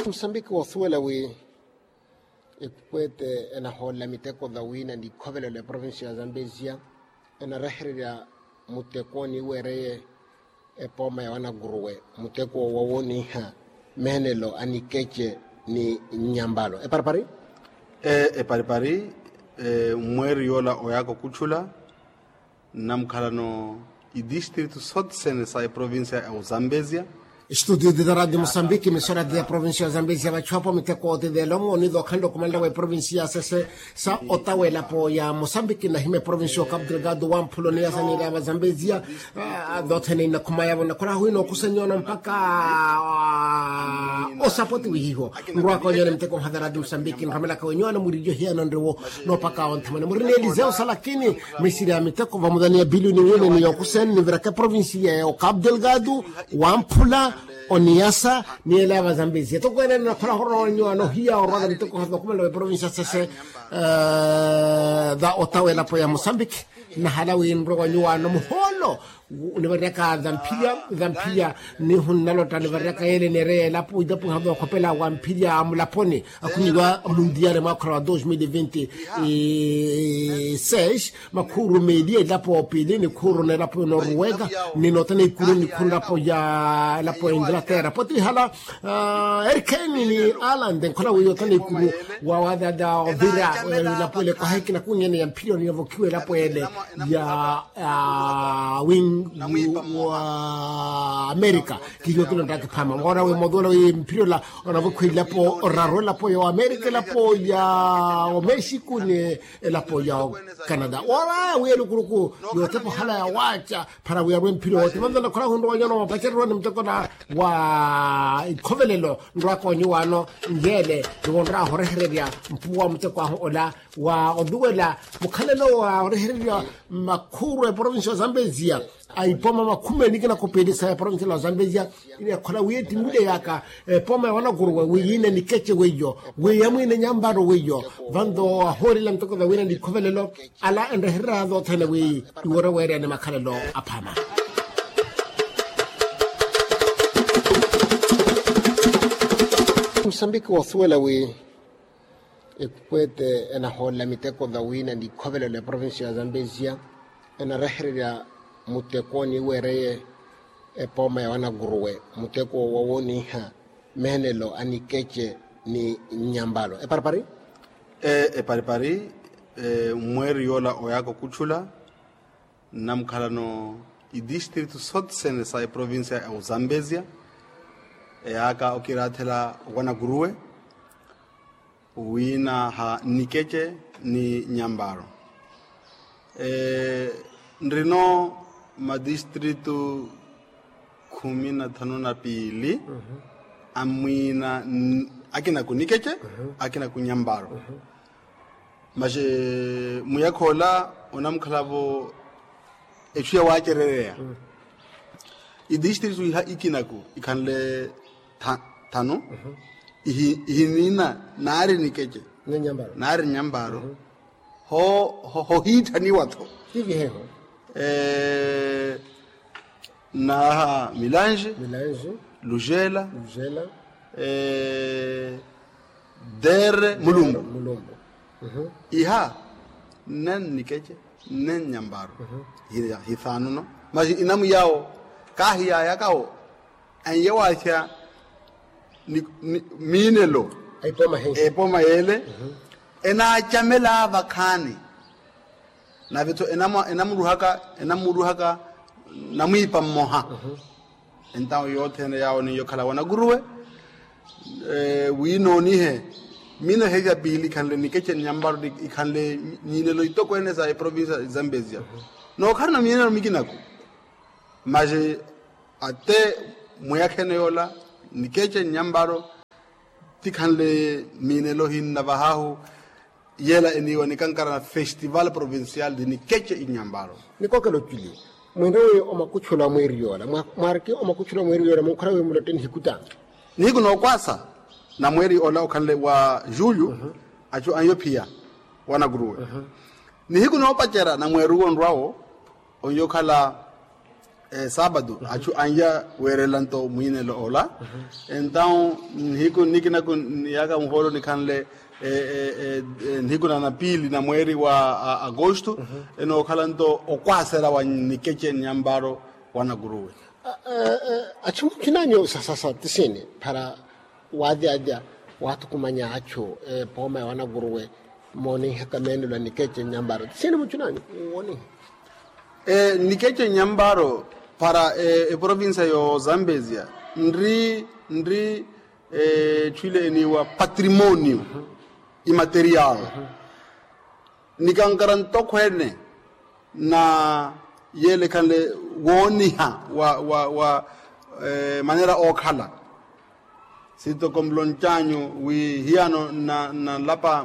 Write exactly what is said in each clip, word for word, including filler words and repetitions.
Musambiki woosuwela wi ekwete enahoolela miteko vawina ni ikhovelelo ya provincia ya zambezia, enarehererya muteko niiwereye epooma ya wanakuruwe, muteko wowoniha meenelo a nikece ni nyambalo eparipari. Eparipari. Mweeri yoola oyaaka okutthula nnamukhalano idistritu sotsene sa eprovincia ya uzambezia. Estudio de radio musambiki emisora de provincia ya uzambezia vachuwapo miteko otideelo mooni dookhanle okumanela wa eprovincia ya sese sa otawa elapo ya musambiki nahima eprovincia ya okapu delgado wamphula oniyasa niirava zambezia. Dothene inakhuma yavo nakhola hwino okusenyono mpaka osapotiwihiho. Nrwaka onyona miteko nhaveradi musambiki nromelaka wenyuwana mwirinyo hiyano nriwo noopaka onthamana mwirini eliseo salakini. Misiri ya miteko vamudhani ya bilioni wine ni yokusene niviraka eprovinsi ya okapu delgado wamphula oniyasa ni ela ya vazambezi etoko ene nakhola horowa wenyuwana ohiya orwaka miteko nhaveradi okhumela wa eprovinsi ya sese. Dha otawa elapo ya musambiki nahala winrwe wanyuwana muhoolo nivariraka dhamphilya dhamphilya. Nihu nnalotta nivariraka yele neereya elapo itapu nhavi okhopela wa mphilya mulaponi akhunyiwa mundiale mwakhola wa dos mil vinti seis. Makhuru meeli elapo pili nikhuru nelapo noruweka ni notana ikuru nikhuru elapo ya elapo ya inglatera potihala. Erikeni ni alande nkhola wiyo tana ikuru wa wadada ovira elapo ele kwahekina kunyene ya mphilyo niyovokhiwa elapo ele ya wingu wa amerika. Kihiyo kino ntakiphama ngona wi moduola wi mphilyola onavokhiwa elapo oraru elapo ya amerika elapo ya omexico ni elapo ya canada wala wi elukuruku yotepa ohala ya wacha. Para wiyarwe mphiri wote manzana khora hundu wanyona wapacererwa ni muteko na wa ikhovelelo nrwaka onyu wano. Nyele niwonraho orehererya mpuwa muteko ahu ola wa oluwela mukhalelo wa orehererya makhuru eprovinsi ya zambezia aipoma makhumi enikina khupelisa eprovinsi ya zambezia. Ina ekhola wi etimule yaka epoma ya wanakuruwe wi yina nikece weiyo wi yamwine nyambaro weiyo. Vanto ahoorela miteko vawina nikhovelelo ala enrehererya zothene wi iworo weereyani makhalelo aphama. Musambiki woosuwela wi ekwete enahoolela miteko vawina nikhovelelo ya provincia ya zambezia enarehererya muteko niiwereye epooma ya wanakuruwe muteko wowoniha meenelo a nikece ni nyambalo eparipari. Eparipari. Mweeri yoola oyaaka okutthula nnamukhalano idistritu sotsene sa eprovincia ya uzambezia eyaaka okiraathela wanakuruwe wina ha nikece ni nyambaro. Nrino madistritu khumi na thanu na piili amwina akina kunikece akina kunyambaro. Masi muyakha ola onamukhalavo etthu ya waacerereya idistritu iha ikinaku ikhanle thanu ihinina naari nikece naari nyambaro. Hohiitthaniwa-tho naaha milange lujela dere mulumbu iha nnen nikece nnen nyambaro. Hi thaanu no masi inamu yawo kaahiyayaka wo enye waahya miinelo epoma yeele enaacamela vakhaani. Nave-tho enamuruhaka enamuruhaka namwiipa mmoha entawo yothene yaawo niyo khala wanakuruwe winoonihe. Miino heya piili ikhanle nikece ni nyambaro ikhanle miinelo itokweene sa eprovincia zambezia nookhalana miinelo mikinaku. Masi ate mwiyakhene yoola nikece ni nyambaro tikhanle miinelo hinna vahahu. Yela eniiwa nikankara na festival provincial di nikece inyambaro. Nikokela oculi mwinre wi omakuchula mweeri yoola mwariki omakuchula mweeri yoola munkhora wi mulotte nihiku ta nihiku nookwasa na mweeri ola okhanle wa julio acu anyo phiya wanakuruwe nihiku noopacerya na mweeri uwo onrwawo onyo okhala Saapatu achu anya weerela nto mwiinelo ola. Entawu nihiku nikinaku niyaka muhoolo nikhanle nihiku na napiili na mweeri wa akostu enookhala nto okwasela wa nikeche nyamparo wa nakuruwe. Achu muchinanyu sasasa tisiini para waatyaatya waathukumanya achu epooma ya wanakuruwe mooninhaka meenelo a nikeche nyamparo tisiini muchinanyu? Wooninha nikeche nyamparo para eprovincia yo zambezia nri nri etthu ile eniiwa patrimonio imaterial. Nikankara ntokhweene na yeele ekhanle wooniha wa wa wa manera ookhala. Sitoko muloncanyu wi hiyano nalapa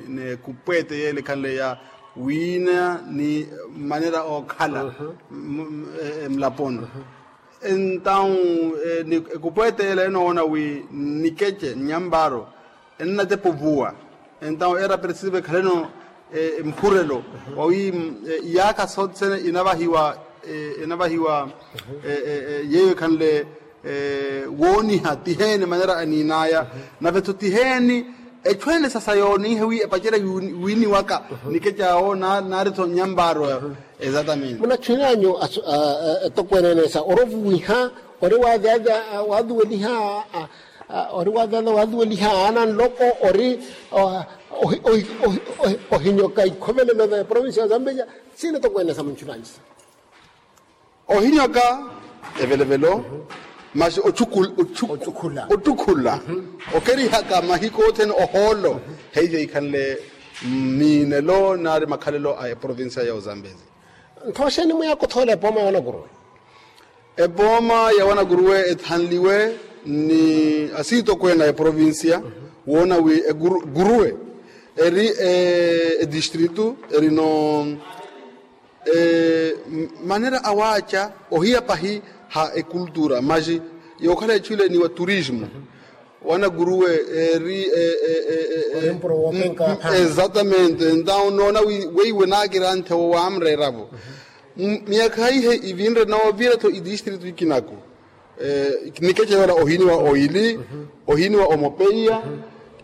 n'ekupweete yeele ekhanle ya wiina ni manera ookhala mulaponi. Entawu ekupweete yeela enoona wi nikeche nyamparo ennatepa ovuwa. Entawu era preciso ekhaleno mpurelo wawi iyaakha sothene enavahiwa enavahiwa yeeyo ekhanle wooniha tiheeni manera aniin'aya. Nave-tho tiheeni etthu ene sasa yooninhe wi epacerya wiini waka nikeche awo naari-tho nyamparo. Exatamente munatthunanyu etokweene ene sa ori ovuwiha ori waatyaatya waathuweliha ori waatyaatya waathuweliha aana nloko ori ohinyoka ikhovelelo va eprovincia ya zambezia. Siina etokweene ene sa muntthunanyu sa ohinyoka evelevelo masi ottukhula okerihaka mahiku othene ohoolo. Heiyo ikhanle miinelo naari makhalelo a eprovincia ya ozambezi. Nthooxeeni mwiya akuthoola epooma ya wanakuruwe? Epooma ya wanakuruwe ethanliwe ni asiitokweene a eprovincia woona wi ekuruwe eri edistritu erino manera awaaca ohiya pahi ha ekultura masi yookhala etthu ile ni wa turismo wanakuruwe eri exatamente entawu noona weiwe naakiranthe wo waamreeravo miyakha ihe ivinre noovira-tho idistritu ikinaku. Nikeche yoola ohiniwa oili ohiniwa omopeiya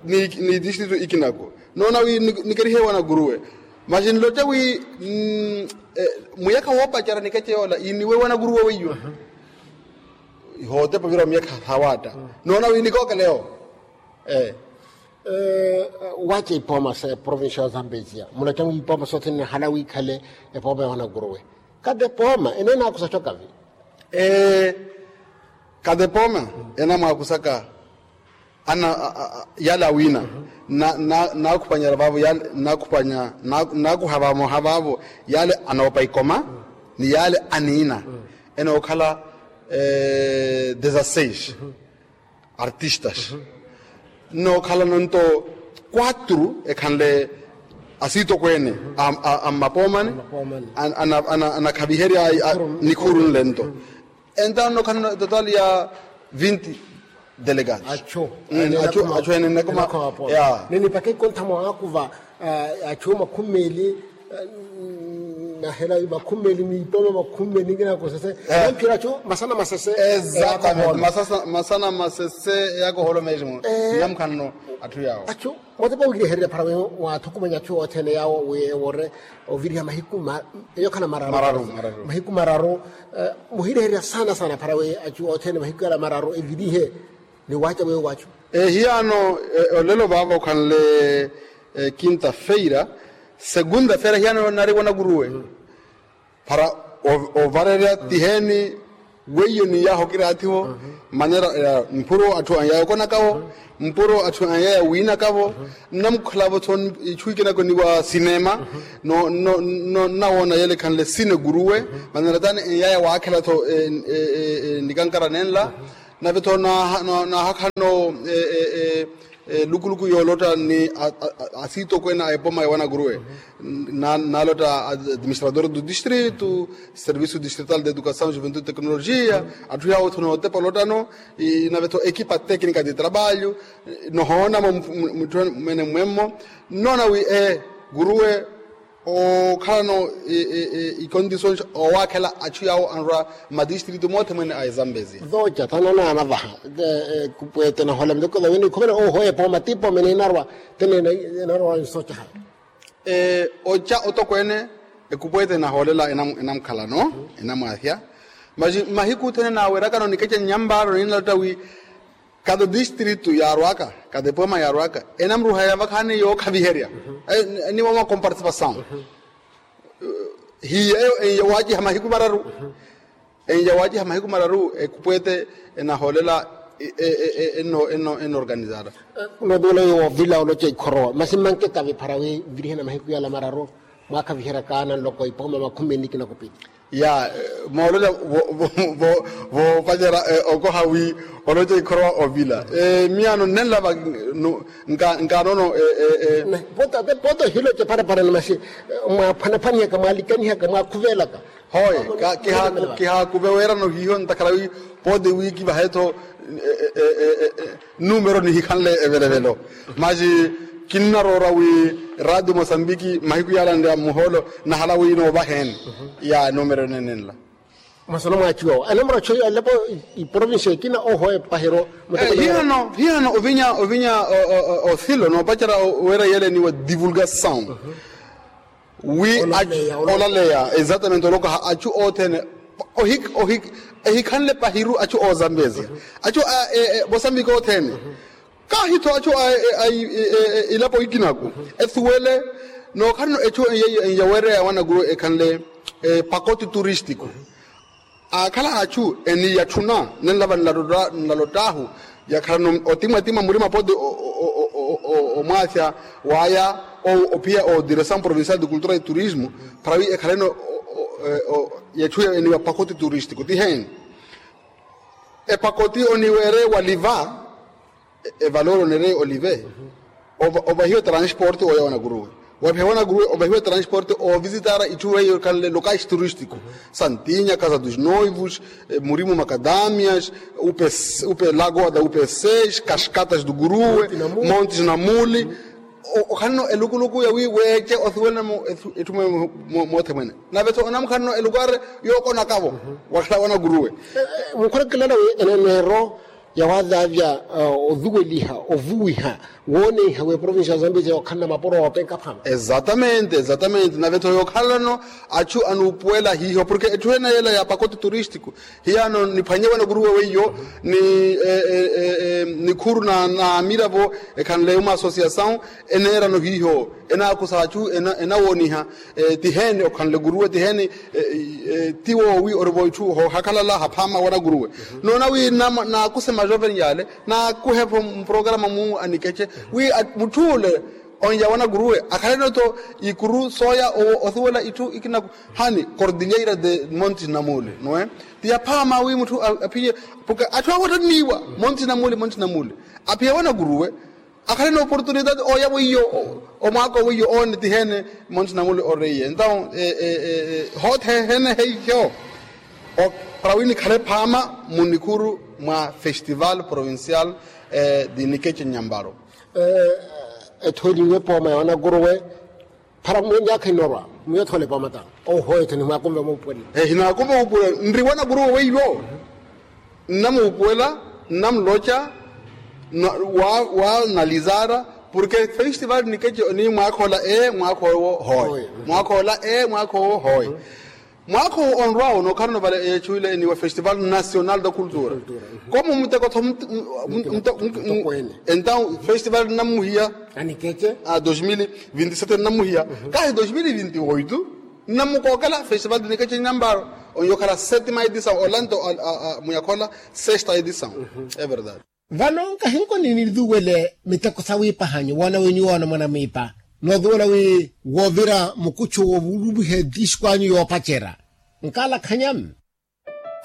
ni idistritu ikinaku noona wi nikerihe wanakuruwe. Masi nloca wi muyakha woopacerya nikeche yoola iniwe wanakuruwe weiyo ihootepa ovira wa miyakha sawaatta noona wi nikookelewo. Waca ipooma sa eprovincia ya zambezia muloca wi ipooma sothene nahala wiikhale epooma ya wanakuruwe. Kati epooma ene enaakusacoka vi? Kati epooma enamwaakusaka ana yale awiina naakhupanyela vaavo yale naakhupanya naakuha vamoha vaavo yale anoopa ikoma ni yale aniina enookhala dezasseis artistas nnookhalano nto quatro ekhanle asiitokweene a mmapoomani anakhaviherya nikhuru nle nto. Entawo nnookhalano total ya vinti delegados achu ene nnakoma ya ninipaka ikontha mwaakuva achu makhumi meeli nahela makhumi meeli ni ipooma makhumi meeli nikinaku sese. Namphira achu masana masese. Exactamente masana masese yakoholo mesmo. Namukhanano atthu yawo achu motepa wiirehererya phara wi waathukumanya achu othene yawo wi ewore oviriha mahiku eyo khana mararu mahiku mararu. Muhireherya saana saana phara wi achu othene mahiku yala mararu evirihe ni waaca weyo waachu. Ehiyano olelo vaavo khanle quinta feira segunda feira hiyano nari wanakuruwe para ovarerya tiheni weiyo ni yaho kiraathiwo manera mpuro atthu anyaya okonakawo mpuro atthu anyaya wiinakawo. Nnamukhalavo tho ichu ikinako ni wa sinema no no no nnawoona yele khanle sine kuruwe manera tani enyaya waakhela tho nikankara nenla. Nave tho naahakhano lukuluku yoolotta ni asiitokweene a epoma ya wanakuruwe naalotta administrador do distrito serviço distrital de educação juventude tecnologia atthu yaawo tho nootepa olottano. Nave tho equipa técnica de trabalho nohoonamo mutthu mwene mmwemmo nnoona wi e kuruwe Okhalano ikondisyons owaakhela achu yaawo anrwa matistritu moothe mwene a ezambezia. Vooca thananaana vaha. Kupweete nahola miteko thaweni khumene oho epooma ti pooma ene enarwa tene enarwa nsocaha. Oca otokweene ekupweete enahoolela enamukhalano enamwaahya. Masi mahiku othene naawerakano nikeca nyampaaro ninalotta wi kati odistritu yaarwaka kati epooma yaarwaka enamruhaya vakhaani yookhaviherya. Ni wama comparticipasaw hiyeyo enyawaciha mahiku mararu. Enyawaciha mahiku mararu ekupweete enahoolela enorganizara. Noovula yoovila oloca ikhorowa masi mmanke kaviphara wi nvirihena mahiku yala mararu mwaakhaviheryaka nanloko ipooma makhumi eni kina kupili. Ya moolola voopacerya okoha wi oloca ikhorowa ovila. Miyaano nnenlava nkaanono. Poto hiloce parapara ni masi mwaaphwanaphwanihaka mwaalikanihaka mwaakhuvelaka. Hoye kihaakuve weerano hiiho ntakhara wi pooti wi kivahe-tho numero nihikhanle evelevelo. Masi kinnaroora wi radio mosambiki mahiku yaalanle ya muhoolo nahala wi noovaheeni ya numero enenenla. Mwasono mwaachuwa anemura chuwa yalepo iprovincia ekina oho epahero. Hihano hihano ovinya ovinya othilo noopacerya weera yeeleniwa divulgasaw wi olaleya exactamente olokaha achu othene ehikhanle pahiru achu ozambezia achu mosambiki othene. Kahi-tho achu ilapo ikinaku ethuwele nookhalano echu yeiyo enyawereya wanakuru ekhanle pakoti turistiku. Aakhala achu eniyatthuna nenlava nlalott'ahu yakhalano otimwatimwa murima poti omwaafya waya ophiya o diresaw provincial de cultura e turismo para wi ekhaleno yetthu eniwa pakoti turistiku tiheeni. Epakoti oniweere waliva evalori oneere olive ovahiwa transporte oya wanakuruwe. Wapiha wanakuruwe ovahiwa transporte ovisitara itthu weiyo ekhanle locais turístico santinya casa dos noivos murimu macadamias upe lagoa da upe seis cascatas do kuruwe montes na muli. Okhalano elukuluku yawi weece othuwelana etthu moothe mwene nave-tho onamukhalano elukware yookonakavo wakhala wanakuruwe. Mukhulekilana wi eneneero yawaathaavya ovuweliha ovuwiha wooneiha wi eprovincia ya zambezia yookhalana mapuro oopenka phama. Exactamente exactamente nave-tho yookhalalano achu anuupuwela hiiho porke etthu ene yeela ya pakote turístico. Hiyaano niphwanye wanakuruwe weiyo ni nikhuru na amiravo ekhanle uma associasaw eneerano hiiho enaakusa achu enawooniha. Tiheeni okhanle kuruwe tiheeni ti woowi orivo itthu hoohakhalala haphaama wanakuruwe noona wi naakuse majoven yaale naakuhe-vo muprograma mu anikece wi mutthu ule onya wanakuruwe akhaleno-tho ikuru sooya owo othuwela itthu ikinaku hani cordilleira de montes na muli noe ti yaphaama wi mutthu aphiye porke atthu awo attanniiwa montes na muli montes na muli aphiye wanakuruwe akhale n'oportunidade ooya weiyo omwaaka owo weiyo oone tiheene monte na muli oreiye entaw hoothehene heiho para wi nikhale phaama munikhuru mwa festival provincial di nikeche nyambaro. Ethooliwe pooma ya wanakuruwe para mwenyaakha inorwa mwiyo thoole pooma ta ohoyo tho nimwaakumve muupuwela. Hinaakumve muupuwela nri wanakuruwe weiyo nnamuupuwela nnamuloca wa nalizara porke festival nikeche ni mwaakha ola ee mwaakha owo hooye mwaakha ola ee mwaakha owo hooye. Mwaakha owo onrw'awo nookhalano vale echu ile eniwa festival national da cultura komo muteko tho entaw festival nnammuhiya a dos mil vinti sete nnammuhiya kahi dos mil vinti oito nnamukookela festival de nikeche nyambaro. Onyo okhala setima edisaw olanto muyakhola sesta edisaw. Everdade. Vano nkahinko ninithuwele miteko sawiipahanyu woona wi nyuwo oona mwanamwiipa noothuwela wi woovira mukuchu woovuluviha etisikwanyu yoopacerya nkaalakhanya.